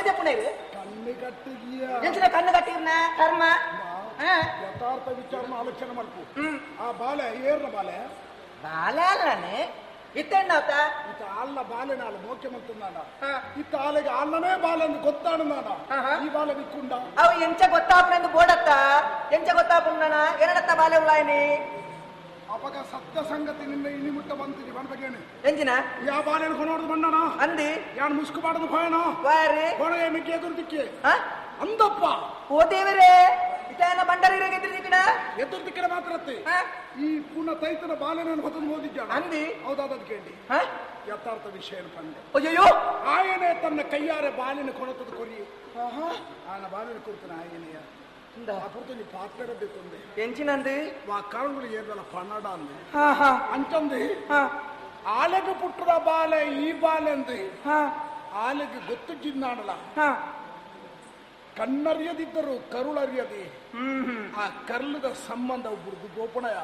ಕಣ್ಣು ಕಣ್ಣು ಕಟ್ಟಿಗಿಯ ಎಂಚಿನ ಕಣ್ಣು ಕಟ್ಟಿರ್ನ ಕರ್ಮ ಯಥಾರ್ಥ ವಿಚಾರ ಆಲೋಚನೆ ಮಾಡ್ಕು. ಆ ಬಾಲೆ ಏರ್ನ ಬಾಲೆ ಬಾಲೆ ಅಲ್ಲನೆ ಇತ್ತೆಣ್ಣಾತ ಇತ್ತ ಆಲ್ನ ಬಾಲೆ ನಾಳು ಮೋಕೆ ಮಂತುಂದಾನ ಇತ್ತ ಆಲೆಗೆ ಆಲ್ನನೇ ಬಾಲೆ ಅಂದು ಗೊತ್ತಾನು ನಾನ ಈ ಬಾಲೆ ಬಿಕ್ಕುಂಡ ಅವು ಎಂಚ ಗೊತ್ತಾಪನೆಂದು ಬೋಡತ್ತ ಎಂಚ ಗೊತ್ತಾಪುಂಡನ ಎರಡತ್ತ ಬಾಲೆ ಉಳಾಯನಿ ಅಪಗ ಸತ್ಯ ಸಂಗತಿ ನಿನ್ನ ಇನಿ ಮುಟ್ಟ ಬಂತಿದಿ ಬಣ್ಬಗೇನೆ ಎಂಜಿನ ಯಾ ಬಾಲೆನ ಕೊನೋಡ್ದು ಬಣ್ಣನ ಅಂದಿ ಯಾನ್ ಮುಸ್ಕು ಬಾಡದು ಭಯನ ವಾರಿ ಕೊಣಗೆ ಮಿಕ್ಕಿ ಎದುರು ದಿಕ್ಕಿ ಅಂದಪ್ಪ ಓ ದೇವರೇ ಇತನ ಬಂಡರಿರಿಗೆ ಎದುರು ದಿಕ್ಕಿನ ಎದುರು ದಿಕ್ಕಿನ ಮಾತ್ರತ್ತೆ ಈ ಪುನಃ ತೈತನ ಬಾಲೆನ ಹೊತ್ತನ್ನು ಓದಿದ್ದಾಣ ಅಂದಿ ಹೌದಾದ ಕೇಳಿ ಯಥಾರ್ಥ ವಿಷಯ ಪಂಡೆ ಅಯ್ಯೋ ಆಯನೇ ತನ್ನ ಕೈಯಾರೆ ಬಾಲಿನ ಕೊಣತದ ಕೊರಿ ಆನ ಬಾಲಿನ ಕೊಡ್ತಾನೆ ಆಯನೆಯ ಅಪುರ್ತನಿ ಪಾತ್ರ ಬೇಕಂದೆ ಎಂಚಿನಂದು ವಾ ಕಾರಣಗಳು ಏರ್ದಲ್ಲ ಪನ್ನಡ ಅಂದೆ ಅಂಚಂದು ಆಲೆಗೆ ಪುಟ್ಟದ ಬಾಲೆ ಈ ಬಾಲೆ ಅಂದು ಆಲೆಗೆ ಗೊತ್ತು ಜಿನ್ನಾಡಲ ಕಣ್ಣರಿಯದಿದ್ದರು ಕರುಳರಿಯದೆ ಆ ಕರ್ಲದ ಸಂಬಂಧ ಒಬ್ಬರದು ಗೋಪಣಯ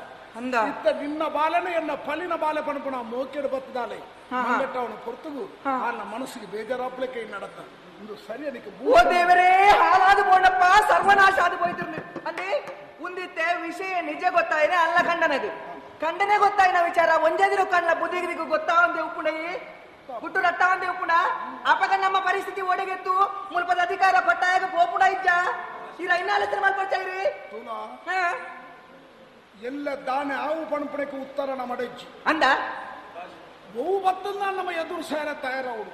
ಇತ್ತ ನಿನ್ನ ಬಾಲನೆ ಎನ್ನ ಪಲಿನ ಬಾಲೆ ಪಣಪಣ ಮೋಕೆಡು ಬತ್ತದಾಲೆ ಮಂಗಟ್ಟವನ ಪೊರ್ತುಗು ಆನ ಮನಸ್ಸಿಗೆ ಬೇಜಾರಾಪ್ಲೆ ಕೈ ನಡತ ಇಂದು ಸರಿ ಅದಕ್ಕೆ ಓ ದೇವರೇ ಹಾಲಾದ ಬೋಣಪ್ಪ ಸರ್ವನಾಶ ಆದ ಹೋಯ್ತಿರ್ಲಿ ಅಂದೆ ಉಂದಿತ್ತೆ ವಿಷಯ ನಿಜ ಗೊತ್ತಾಯಿದೆ ಅಲ್ಲ ಖಂಡನದು ಖಂಡನೆ ಗೊತ್ತಾಯಿನ ವಿಚಾರ ಒಂಜೇ ಕಣ್ಣ ಬುದ್ಧಿಗೆ ಗೊತ್ತಾ ಒಂದೇ ಉಪ್ಪುಣಯಿ ಗುಟ್ಟು ರಟ್ಟ ಒಂದೇ ಉಪ್ಪುಣ ಅಪಗ ನಮ್ಮ ಪರಿಸ್ಥಿತಿ ಒಡೆಗೆತ್ತು ಮುಲ್ಪದ ಅಧಿಕಾರ ಪಟ್ಟಾಯಗ ಪೋಪುಣ ಇಜ್ಜ ಈ ರೈನಾಲೋಚನೆ ಮಲ್ಪಡ್ಚಾಯಿರಿ ಎಲ್ಲ ದಾನೆ ಆವು ಪಣಪಣಕ್ಕೆ ಉತ್ತರ ನಮ್ಮ ಅಂದ ಬಹು ಬತ್ತದ ನಮ್ಮ ಎದುರು ಸೇರ ತಯಾರವರು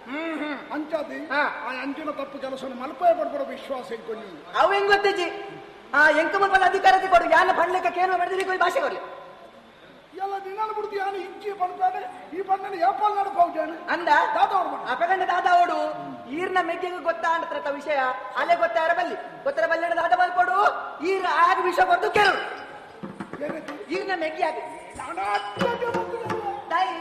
ಅಂಚಾದಿ ಆ ಅಂಚಿನ ತಪ್ಪು ಕೆಲಸ ಮಲ್ಪೆ ಪಡ್ಬಡ ವಿಶ್ವಾಸ ಇಟ್ಕೊಳ್ಳಿ ಅವು ಹೆಂಗ್ ಗೊತ್ತಿಜ್ಜಿ ಆ ಎಂಕ ಮುಲ್ಪದ ಅಧಿಕಾರ ಕೊಡು ಯಾನ ಪಣ್ಲಿಕ್ಕೆ ಕೇಂದ್ರ ಮಾಡಿದ್ರೆ ಭಾಷೆ ಕೊಡ್ಲಿ ಎಲ್ಲ ದಿನಾಲು ಬಿಡ್ತಿ ಯಾನು ಇಜ್ಜಿ ಪಡ್ತಾನೆ ಈ ಪಣ್ಣನ ಏಪಾಲ್ ನಡಪಾವುಜಾನೆ ಅಂದ ದಾದವರು ಅಪಗಂಡ ದಾದಾವಡು ಈರ್ನ ಮೆಗ್ಗೆಗೆ ಗೊತ್ತಾ ಅಂತ್ರ ವಿಷಯ ಅಲ್ಲೇ ಗೊತ್ತಾರ ಬಲ್ಲಿ ಗೊತ್ತರ ಬಲ್ಲಿ ದಾದ ಮಲ್ಪಡು ಈರ್ ಆಗ ವಿಷಯ ಕೊಡ್ದು ಕೇಳು ಈರ್ನ ಮೆಗ್ಗಿ ಆಗ ತಾಯಿ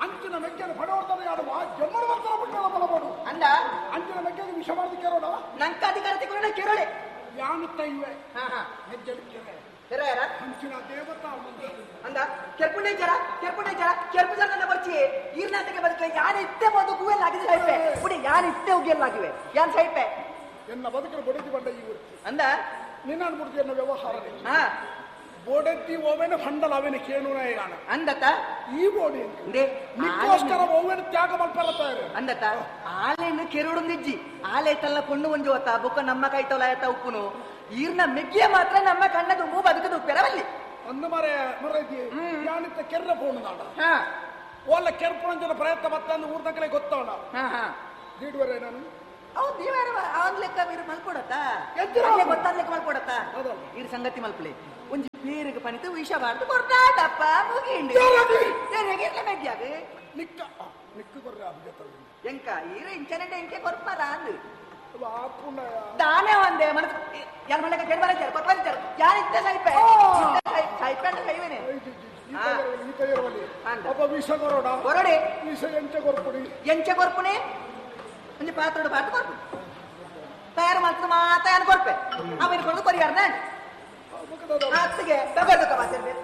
ಅಂಚಿನ ಮೆಗ್ಗೆನ ಪಡೋರ್ತಾರೆ ಯಾರು ಜನ್ಮನ ಬರ್ತಾರ ಬಿಟ್ಟಲ್ಲ ಬಲಬೋಡು ಅಂದ ಅಂಚಿನ ಮೆಗ್ಗೆಗೆ ವಿಷ ಮಾಡಿದ ಕೇಳೋಣ ನಂಕ ಅಧಿಕಾರ ತಗೊಂಡ ಕೇಳೋಳೆ ಯಾನುತ್ತ ಇವೆ ಹೆಜ್ಜೆಲಿ ಕೆರೆ ಕೆರೆ ಅಂಚಿನ ದೇವತಾ ಅಂದ ಕೆರ್ಪುಂಡೆ ಜರ ಕೆರ್ಪುಂಡೆ ಜರ ಕೆರ್ಪು ಜರ ನನ್ನ ಬರ್ಚಿ ಈರ್ನಾಟಕ್ಕೆ ಬದುಕಲೆ ಯಾರು ಇತ್ತೆ ಬಂದು ಗುವೆಲ್ಲ ಆಗಿದ್ರೆ ಸೈಪೆ ಪುಡಿ ಯಾರು ಇತ್ತೆ ಉಗಿಯಲ್ಲಾಗಿವೆ ಯಾನ್ ಸೈಪೆ ಎನ್ನ ಬದುಕಲು ಬಡಿದು ಬಂಡ ಈ ವೃತ್ತಿ ಅಂದ ನಿನ್ನ ಅನ್ಬಿಡ್ತಿ ಎನ್ನ ವ್ಯವಹಾರ ಬೋಡೆತ್ತಿ ಓವೆನ ಫಂಡಲ ಅವೆನ ಕೇಣುನ ಏಗಾನ ಅಂದತ ಈ ಬೋಡಿ ನಿಕ್ಕೋಸ್ಕರ ಓವೆನ ತ್ಯಾಗ ಮಲ್ಪಲತ್ತಾರೆ ಅಂದತ ಆಲೆನ ಕೆರುಡುಂದಿಜ್ಜಿ ಆಲೆ ತಲ್ಲ ಪೊಣ್ಣು ಒಂಜಿ ಹೊತ್ತ ಬೊಕ್ಕ ನಮ್ಮ ಕೈತೋಲ ಆಯತ ಉಪ್ಪುನು ಈರ್ನ ಮೆಗ್ಗಿಯ ಮಾತ್ರ ನಮ್ಮ ಕಣ್ಣ ತುಂಬು ಬದುಕದು ಉಪ್ಪೆರವಲ್ಲಿ ಒಂದು ಮರ ಮರ ಯಾನಿತ್ತ ಕೆರ್ರ ಪೋಣು ನಾಡ ಓಲ್ಲ ಕೆರ್ಪುಣಂಜನ ಪ್ರಯತ್ನ ಬತ್ತಂದು ಊರ್ ತಕ್ಕಲೆ ಗೊತ್ತವಣ ದೀಡುವರೆ ನಾನು ಹೌದು ನೀವ್ಯಾರ ಅವನ್ ಲೆಕ್ಕ ಇರು ಮಲ್ಕೊಡತ್ತ ಗೊತ್ತಾದ್ ಲೆಕ್ಕ ಮಲ್ಕೊಡತ್ತ ಇರ್ ಸಂಗತಿ ಮಲ್ಪಲೆ ಒಂಜಿ ಪೇರಿಗೆ ಪನಿತು ವಿಷ ಬಾರ್ದು ಕೊರ್ತಾಟಪ್ಪ ಮುಗಿಂಡಿ ಮೆಗ್ಯಾಗ ನಿಕ್ಕ ನಿಕ್ಕು ಕೊರ್ರ ಎಂಕ ಈರ ಇಂಚನೆ ಎಂಕೆ ಕೊರ್ಪಾರ ಅಂದು ದಾನೆ ಒಂದೇ ಮನಸ್ಸು ಯಾರ ಮನೆಗೆ ಕೇಳಿ ಬರ ಕೊರ್ಪಾರ ಯಾರು ಇತ್ತ ಸೈಪೆ ಸೈಪೆ ಅಂತ ಸೈವೇನೆ ವಿಷ ಕೊರೋಡ ಕೊರಡೆ ವಿಷ ಎಂಚ ಕೊರ್ಪುಡಿ ಎಂಚ ಕೊರ್ಪುಣಿ ಒಂಜಿ ಪಾತ್ರೋಡು ಪಾತ್ರ ಕೊರ್ಪು ತಯಾರು ಮಾಡ್ತದೆ ಮಾತ ಏನು ಕೊರ್ಪೆ ಆಮೇಲೆ ಕೊಡೋದು ಕೊರಿಯಾರ್ನ ಅತ್ತಿಗೆ ತಗೋದಕ್ಕ ಮಾತಾಡ್ಬೇಕು.